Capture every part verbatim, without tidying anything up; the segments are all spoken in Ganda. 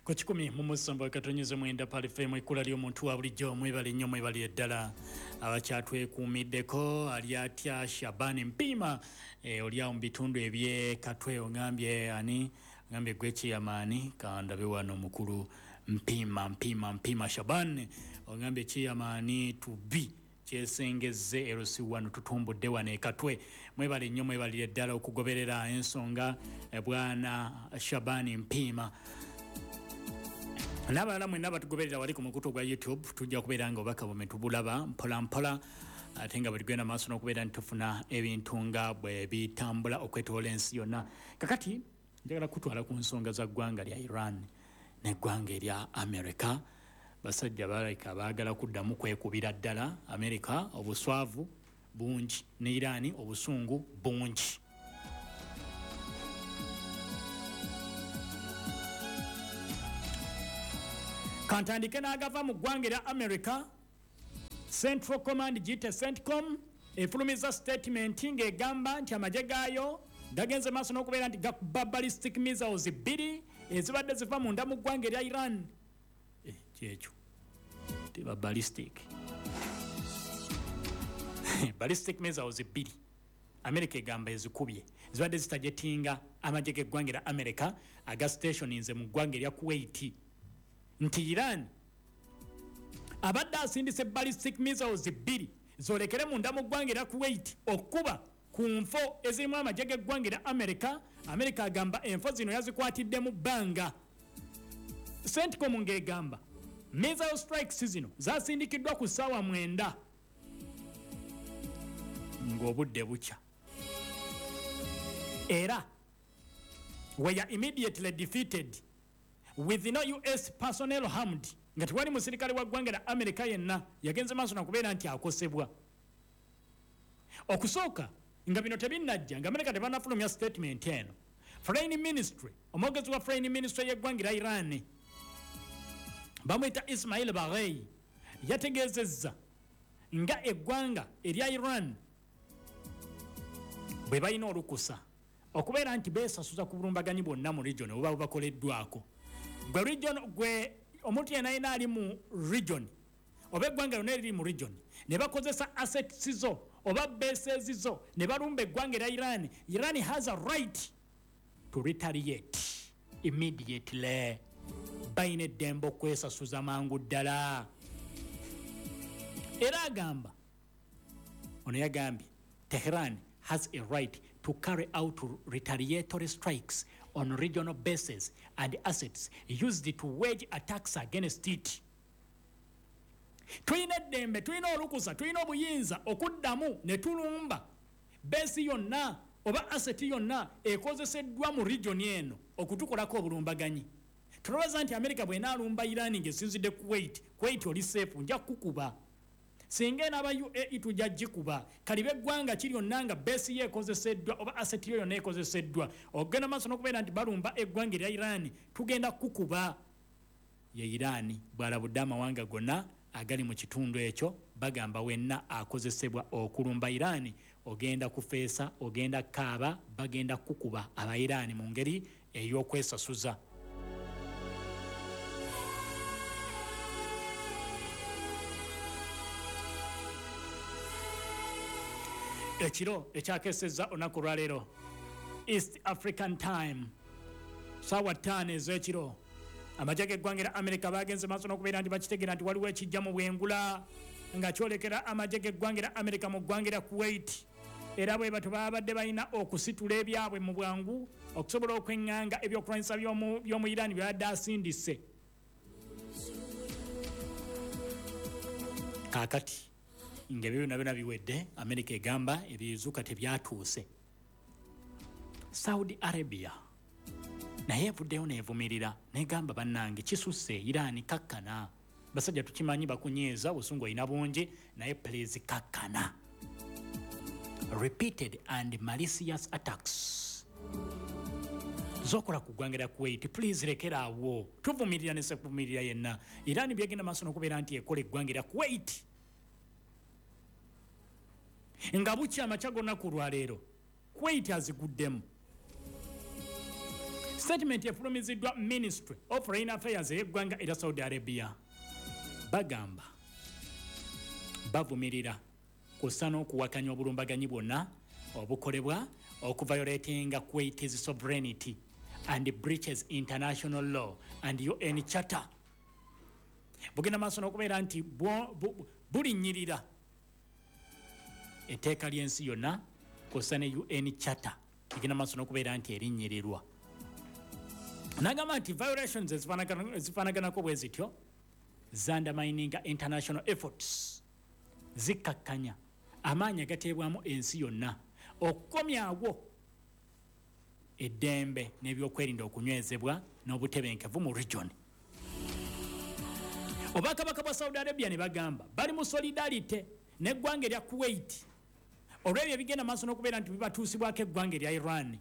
Ku kikumi mu musanvu akatonyeze mwenda Pearl F M, ekkula ly'omuntu wa bulijjo. Mwebale nnyo, mwebale ddala abakyatwekuumiddeko. Ali atya Shabani Mpima, e, oli awo mu bitundu eby'e Katwe? Ongambye ani? Ngambye gwe chairman. Kandabe wano mukulu Mpima, Mpima, Mpima Shaban, ongambye chairman to be kyesengezze L C one, tutumbudde wano e Katwe. Mwebale nnyo, mwebalire ddala okugoberera ensonga, bwana Shabani Mpima n'abalala mwenna batugoberera wali ku mukutu gwa YouTube. Tujja kubeera nga obubaka bwe tubulaba mpola mpola, ate nga bwe tugenda maaso n'okubeera nti tufuna ebintu nga bwe bitambula okwetoola ensi yonna. Kakati njagala kutwala ku nsonga za ggwanga lya Iran n'eggwanga erya America. Basajja balabika baagala kuddamu kwekubira ddala. America obuswavu bungi ne Iran obusungu bungi. Kantandike n'agava mu ggwanga erya America. Central Command, giyite CENTCOM, efulumiza statement ng'egamba nti amagye gaayo gagenze maaso n'okubeera nti gakuba ballistic missiles bbiri ezibadde ziva munda mu ggwanga erya Iran. Eh, kyekyo teba ballistic ballistic missiles bbiri America egamba ezikubye zibadde zitajetinga amagye g'eggwanga erya America aga stationinze mu ggwanga erya Kuwait, nti Iran abadde asindise ballistic missiles bbiri zolekere munda mu ggwanga erya Kuwait okuba ku nfo ezirimu amagye g'eggwanga erya America. America agamba enfo zino yazikwatidde mu bbanga. CENTCOM ng'egamba missile strikes zino zasindikiddwa ku ssaawa mwenda ng'obudde bukya, era were immediately defeated with no U S personnel harmed, nga tewali musirikale wa ggwanga lya America yenna yagenze maaso nakubeera nti akosebwa. Okusooka nga bino tebinnajja, nga America tebannafulumya statement eno, Foreign Ministry, omwogezi wa Foreign Ministry y'eggwanga lya Iran bamuyita Ismail Baghei, yategeezezza nga eggwanga erya Iran bwe balina olukusa okubeera nti beesasuza ku bulumbaganyi bwonna mu region obuba bubakoleddwako. Gwe region, gwe omuntu yenna yenna ali mu region oba eggwanga lyonna eriri mu region ne bakozesa assets zo oba bases zo ne balumba eggwanga erya Iran, Iran has a right to retaliate immediately. Balina eddembe okwesasuza mangu ddala. Era agamba ono yagambye Tehran has a right to carry out retaliatory strikes on regional bases and assets used to wage attacks against it. Tulina eddembe, tulina olukusa, tulina obuyinza okuddamu ne tulumba base yonna oba asset yonna ekozeseddwa mu region eno okutukolako obulumbaganyi. Tulowooza nti America bw'enaalumba Iran ng'esinzidde Kuwait, Kuwait oli safe, nja kukuba. Singa enaaba U A E tujja gikuba. Kalibe eggwanga ki lyonna nga base ye ekozeseddwa oba asset yo yonna ekozeseddwa okugenda maaso n'okubeera nti balumba eggwanga erya Iran, tugenda kukuba. Ye Iran bw'alabudde amawanga gonna agali mu kitundu ekyo, bagamba wenna akozesebwa okulumba Iran ogenda kufeesa, ogenda kaaba, bagenda kukuba aba Iran mu ngeri ey'okwesasuza. Ekiro ekyakesezza olunaku lwaleero East African Time, ssaawa ttaano ez'ekiro, amagye g'eggwanga lya America bagenze maaso n'okubeera nti bakitegeera nti waliwo ekijja mu bwengula nga kyolekera amagye g'eggwanga lya America mu ggwanga lya Kuwait. Era bwe batyo babadde balina okusitula ebyabwe mu bwangu okusobola okweŋŋanga ebyokulwanyisa by'omu Iran byabadde asindise. Kaakati ng'ebyo byonna byonna biwedde, America egamba ebizuuka tebyatuuse. Saudi Arabia naye evuddeyo n'evumirira n'egamba bannange kisusse, Iran kakkana. Basajja tukimanyi bakunyeeza, obusungu olina bungi, naye please kakkana. Repeated and malicious attacks zokola ku ggwanga lya Kuwait, please lekera awo. Tuvumirira ne sekuvumirira yenna. Iran byegenda maaso n'okubeera nti ekola eggwanga lya Kuwait nga bukya amakya g'olunaku lwaleero Kuwait aziguddemu. Statement efulumiziddwa Ministry of Foreign Affairs ey'eggwanga erya Saudi Arabia. Bagamba bavumirira kussa n'okuwakanya obulumbaganyi bwonna obukolebwa okuviolatinga Kuwait's sovereignty and breaches international law and U N Charter. Bugenda maaso n'okubeera nti bulinnyirira etteeka ly'ensi yonna kussa ne U N Charter, egenda maaso n'okubeera nti erinnyirirwa. Nagamba nti violations ezifaanaganako bwe zityo ziundermininga international efforts, zikkakkanya amaanyi agateebwamu ensi yonna okukomyawo eddembe n'ebyokwerinda okunywezebwa n'obutebenkevu mu region. Obwakabaka bwa Saudi Arabia ne bagamba bali mu solidarity n'eggwanga erya Kuwait olw'ebyo ebigenda maaso n'okubeera nti bibatuusibwako eggwanga erya Iran.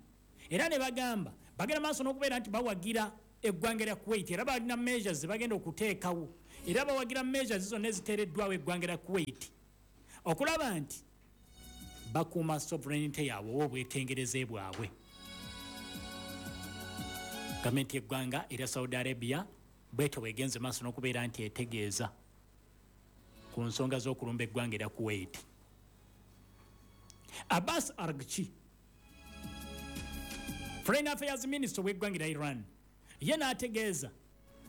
Era ne bagamba bagenda maaso n'okubeera nti bawagira eggwanga erya Kuwait, era balina measures zebagenda okuteekawo, era bawagira measures zonna eziteereddwawo eggwanga erya Kuwait okulaba nti bakuuma sovereignty yaabwe oba obwetengereze bwabwe. Gavumenti y'eggwanga erya Saudi Arabia bwetyo bwegenze maaso n'okubeera nti etegeeza ku nsonga z'okulumba eggwanga erya Kuwait. Abbas Araghchi, Foreign Affairs Minister w'eggwanga erya Iran, ye n'ategeeza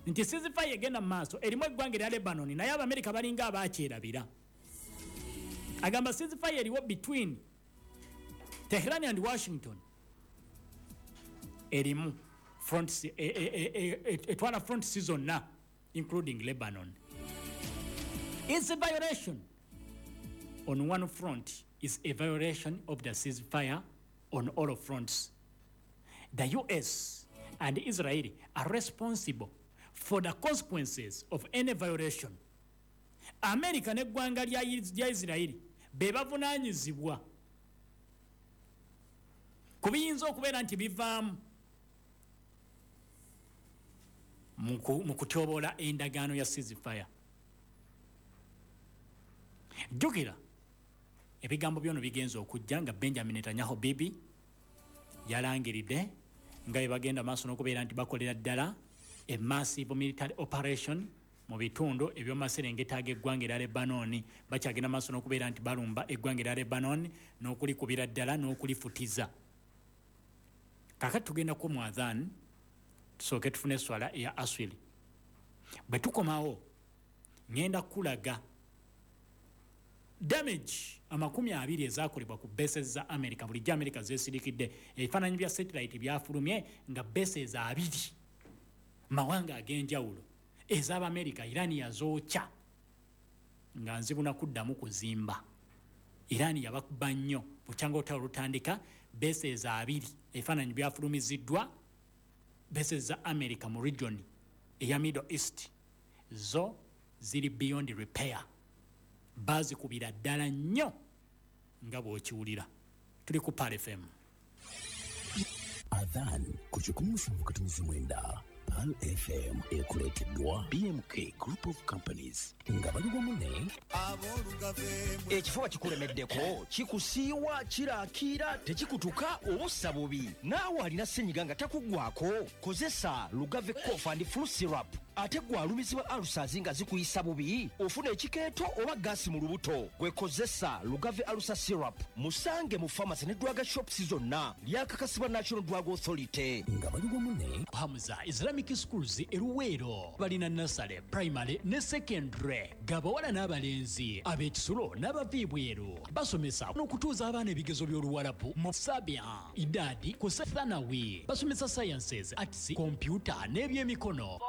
nti ceasefire egenda mu maaso erimu eggwanga erya Lebanon, naye Abamerika balinga abakyerabira. Agamba ceasefire eriwo between Tehran and Washington erimu fronts, etwala fronts zonna including Lebanon. Is a violation on one front is a violation of the ceasefire on all fronts. The U S and Israel are responsible for the consequences of any violation. America n'eggwanga lya Israeli be bavunaanyizibwa ku biyinza okubeera nti bivaamu mu kutyoboola endagaano ya ceasefire. Jjukira ebigambo byono bigenza okujja nga Benjamin Netanyahu Bibi yalangiridde nga bwe bagenda maaso n'okubeera nti bakolera ddala a massive military operation mu bitundu ebyomaserengeta ag'eggwanga erya Lebanon. Bakyagenda maaso n'okubeera nti balumba eggwanga erya Lebanon n'okulikubira ddala n'okulifutiza. Kakati tugenda ku mu adhan, tusooke tufune eswala eya aswiri. Bwe tukomawo ŋŋenda kulaga damage amakumi abiri ezakolebwa ku bases za America. Bulijjo America zeesirikidde. Ebifaananyi bya satellite byafulumye nga bases abiri mawanga ag'enjawulo ez'Abamerika Iran yazookya nga nzibuna kuddamu kuzimba. Iran yabakuba nnyo bukyanga olutalo lutandika. Bases abiri, ebifaananyi byafulumiziddwa, bases za America mu region eya Middle East zo ziri beyond repair, bazikubira ddala nnyo nga bw'okiwulira. Tuli ku Pearl F M. Adhan ku kikumi musanvu katonozi mwenda Pearl F M ekuleeteddwa B M K Group of Companies nga bali wamu ne Ekifuba kikulemeddeko, kikusiiwa, kiraakiira, tekikutuka, obussa bubi, naawe alina ssenyiga nga takuggwako, kozesa Lugave Cough and Flu Syrup. Ate gwe alumizibwa ulcers nga zikuyisa bubi, ofuna ekikeeto oba gaasi mu lubuto, gwe kozesa Lugave Ulcer Syrup. Musange mu pharmacy ne drug shops zonna. Lyakakasibwa National Drug Authority. Nga bali wamu ne Hamza Islamic Schools eruweero balina nursery, primary ne secondary, gabawala n'abalenzi, ab'ekisulo n'abava ebweru. Basomesa n'okutuuza abaana ebigezo by'Oluwarabu mu sabia, idadi ku thanawi. Basomesa sciences, arts, computer n'ebyemikono.